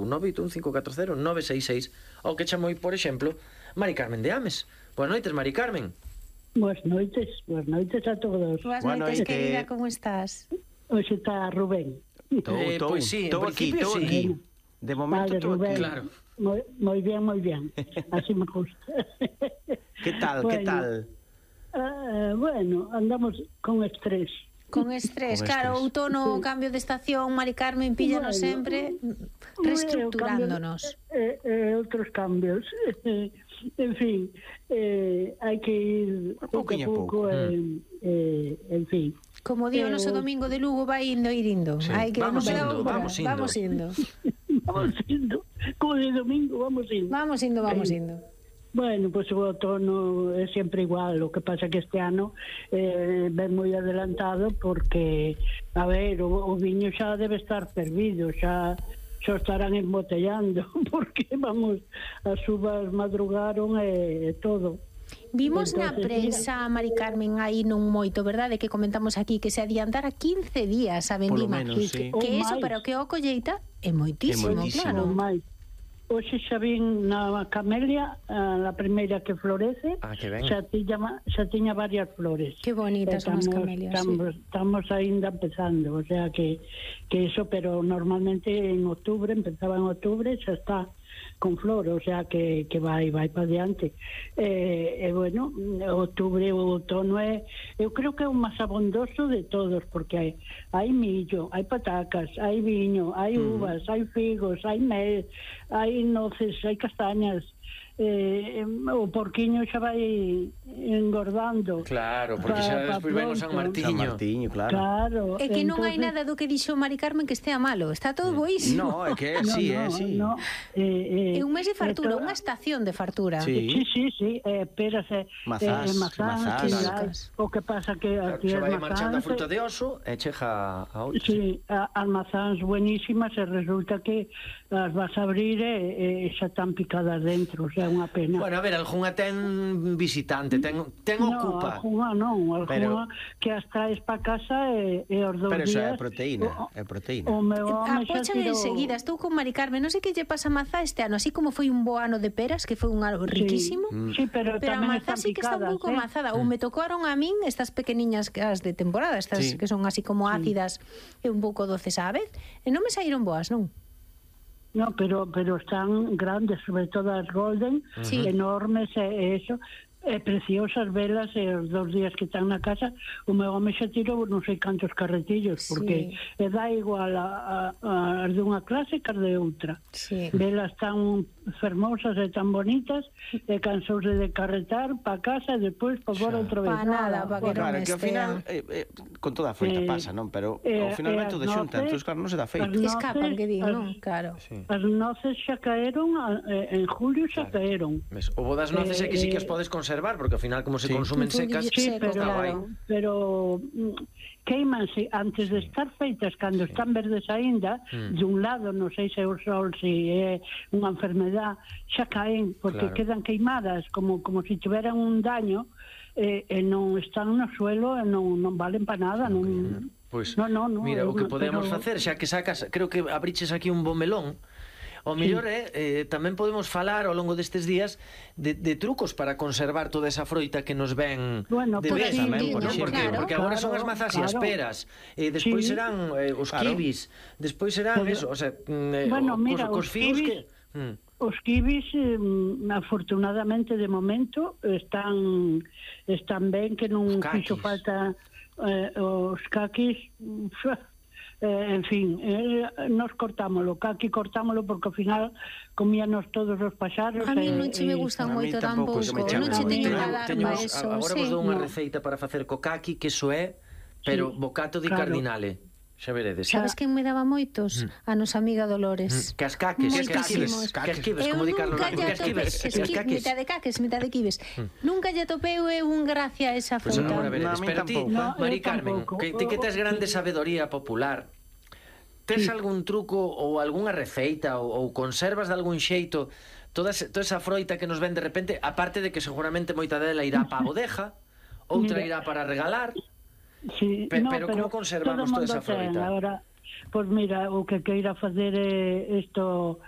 981-540-966 ou que chamou, por exemplo, Mari Carmen de Ames. Boas noites, Mari Carmen. Boas noites a todos. Boas noites, querida, como estás? Hoxe está Rubén. Pois sí, en principio estou sí. aquí. De momento Vale, estou aquí. Rubén. Claro. Moi bien. Así me gusta. Que tal, Bueno. que tal? Bueno, andamos con estrés. Con estrés, Con claro, estrés. outono, cambio de estación, Mari Carmen, píllanos Bueno, sempre reestructurándonos. Outros cambios. En fin, hai que ir pouco a pouco, en fin. Como di o noso domingo de Lugo, vai indo, Sí. hai que Vamos non queda indo, outra. vamos indo. Vamos indo, como de domingo, vamos indo. Vamos indo. Bueno, pois o outono é sempre igual, o que pasa que este ano ven moi adelantado porque, a ver, o viño xa debe estar fervido, xa estarán embotellando, porque, vamos, as uvas madrugaron e todo. Vimos na Entonces, prensa, Mari Carmen, aí non moito, verdade, que comentamos aquí que se adiantara 15 días a vendima. Polo menos, sí. Que Ou eso, máis. pero que o colleita é moitísimo, É moitísimo. claro. Mais. Hoxe xa vin na camelia, a primeira que florece, Que ben. xa tiña varias flores. Que bonitas son as camelias, Estamos aínda empezando, o sea que eso, pero normalmente en octubre, empezaba en octubre, xa está con flor, o sea que vai para diante. Bueno, outubro o outono eu creo que é o máis abondoso de todos, porque hai millo, hai patacas, hai viño, hai uvas, hai figos, hai mel, hai noces, hai castañas. O porquiño xa vai engordando. Claro, porque xa despois ven o San Martiño. San Martiño, claro. É que non hai nada do que dixo Mari Carmen que estea malo, está todo boísimo. No, é que sí, sí. É un mes de fartura, unha estación de fartura. Sí. Sí, peras e Mazás, mazás. O que pasa que aquí Xa as vai marchando a mazás, fruta de oso e chega a outra. sí, as mazás buenísimas, e resulta que as vas a abrir e xa están picadas dentro, o sea, unha pena. Bueno, a ver, algunha ten visitante, ten ocupa. Algunha que as traes para casa e os dous Pero eso días... é proteína, O meu home xa Apochan tirou... enseguida, estou con Mari Carmen, non sei que lle pasa a mazá este ano, así como foi un bo ano de peras, que foi un algo riquísimo, Sí, pero a tamén mazá están sí que está un picadas, pouco mazada, ou me tocaron a min estas pequeniñas as de temporada, estas Sí. que son así como ácidas e un pouco doces á vez, e non me saíron boas, non? No, pero están grandes, sobre todo as golden, Sí. enormes, e eso, preciosas velas, e os 2 días que están na casa, o meu home xa tirou non sei cantos carretillos, porque dá igual as de unha clase que as de outra. Sí. Velas tan fermosas e tan bonitas, e cansouse de carretar pa casa e despois pa fora outra vez. Pa nada, pa que non Claro, que ao final con toda a froita pasa, non? Pero ao final vai todo xunta, entón claro, non se dá feito. Escapan, que digo, non? Claro. As noces xa caeron, en julio xa caeron. Ves, o bo das noces é que sí que as podes conservar, porque ao final como se consumen secas, Sí, está guai. pero queimanse antes de estar feitas cando están verdes aínda, de un lado, non sei se o sol, se é unha enfermedade, xa caen, porque quedan queimadas como se tiveran un daño, e non están no suelo e non valen para nada, non. Pois, no, mira, o que podemos pero... facer, xa que sacas, creo que abriches aquí un bo melón. O mellor tamén podemos falar ao longo destes días de trucos para conservar toda esa froita que nos ven de vez tamén, porque agora son as mazás e as peras, e despois serán os kibis, despois serán eso, o sea, os figos que... Os kibis, afortunadamente, de momento, están ben, que non fixo falta os caquis... en fin, nos cortámolo, caqui cortámolo porque ao final comíanos todos os paxaros. A mí non che me gustan moito tampouco, non che teño que dar para eso. Agora vos dou unha receita para facer co caqui, que iso é, pero bocato di cardinale. Xa veredes. Sabes quen me daba moitos? A nosa amiga Dolores. Cascaques, como di Carlos Blanco, cascaques. Mitad de caques, mitad de quibes. Nunca lle topeu un gracia a esa fruta. Pois agora veredes, pero ti, Mari Carmen, ti que tes grande sabedoría popular, tes algún truco ou algunha receita ou conservas de algún xeito toda esa froita que nos ven de repente, aparte de que seguramente moita dela irá para a bodeja, outra irá para regalar? Sí, pero como conservamos toda esa froita? Ahora, pois mira, o que queira facer é isto,